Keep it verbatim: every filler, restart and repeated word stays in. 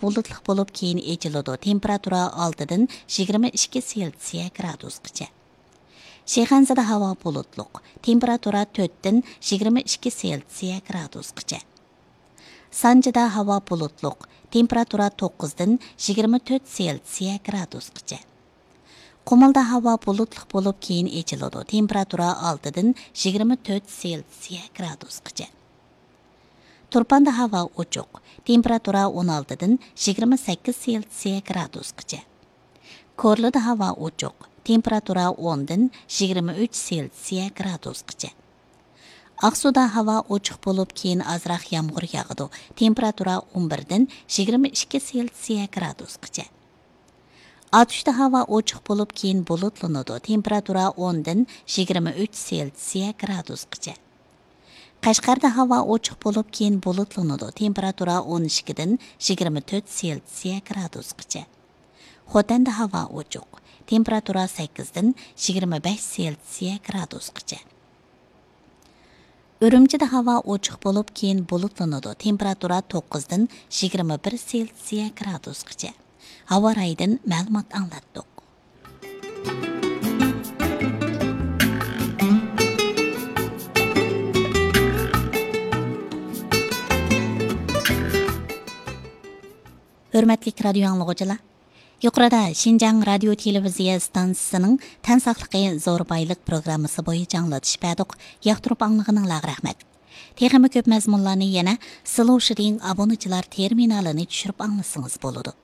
بۇلۇتلۇق بولۇپ، كېيىن ئېچىلىدۇ. تېمپېراتۇرا ئالتىدىن يىگىرمە ئىككى سېلسىيە گرادۇسقىچە. شىخەنزىدە ھاۋا بۇلۇتلۇق. تېمپېراتۇرا تۆتتىن يىگىرمە ئىككى سېلسىيە گرادۇسقىچە. سانجىدا ھاۋا بۇلۇتلۇق. تېمپېراتۇرا توققۇزدىن يىگىرمە تۆت سېلسىيە گرادۇسقىچە. قۇمۇلدا ھاۋا بۇلۇتلۇق بولۇپ، كېيىن ئېچىلىدۇ. تېمپېراتۇرا ئالتىدىن يىگىرمە تۆت سېلسىيە گرادۇسقىچە. تۇرپاندا ھاۋا ئوچۇق. تېمپېراتۇرا ئون ئالتىدىن يىگىرمە سەككىز سېلسىيە گرادۇسقىچە. كورلىدا ھاۋا ئوچۇق. تېمپېراتۇرا ئوندىن يىگىرمە ئۈچ سېلسىيە گرادۇسقىچە. ئاقسۇدا ھاۋا ئوچۇق بولۇپ، كېيىن ئازراق يامغۇر ياغىدۇ. تېمپېراتۇرا ئون بىردىن يىگىرمە ئىككى سېلسىيە گرادۇسقىچە. ئاتۇشتا ھاۋا ئوچۇق بولۇپ، كېيىن بۇلۇتلىنىدۇ. تېمپېراتۇرا ئوندىن يىگىرمە ئۈچ سېلسىيە گرادۇسقىچە. قەشقەردە ھاۋا ئوچۇق بولۇپ، كېيىن بۇلۇتلىنىدۇ. تېمپېراتۇرا ئون ئىككىدىن يىگىرمە تۆت سېلسىيە گرادۇسقىچە. خوتەندە ھاۋا ئوچۇق. تېمپېراتۇرا سەككىزدىن يىگىرمە بەش سېلسىيە گرادۇسقىچە. ئۈرۈمچىدە ھاۋا ئوچۇق بولۇپ، كېيىن بۇلۇتلىنىدۇ. تېمپېراتۇرا توققۇزدىن يىگىرمە بىر سېلسىيە گرادۇسقىچە. ھاۋا رايىدىن مەلۇمات ئاڭلاتتۇق. ھۆرمەتلىك رادىيو ئاڭلىغۇچىلار، يۇقىرىدا شىنجاڭ رادىيو تېلېۋىزىيە ئىستانسىسىنىڭ تەن ساقلىقى زور بايلىق پروگراممىسى بويىچە ئاڭلىتىش بەردۇق. ياقتۇرۇپ ئاڭلىغىنىڭلارغا رەھمەت. تېخىمۇ كۆپ مەزمۇنلارنى يەنە سلوشىدىڭ ئابۇنىچىلار تېرمىنالىنى چۈشۈرۈپ ئاڭلىسىڭىز بولىدۇ.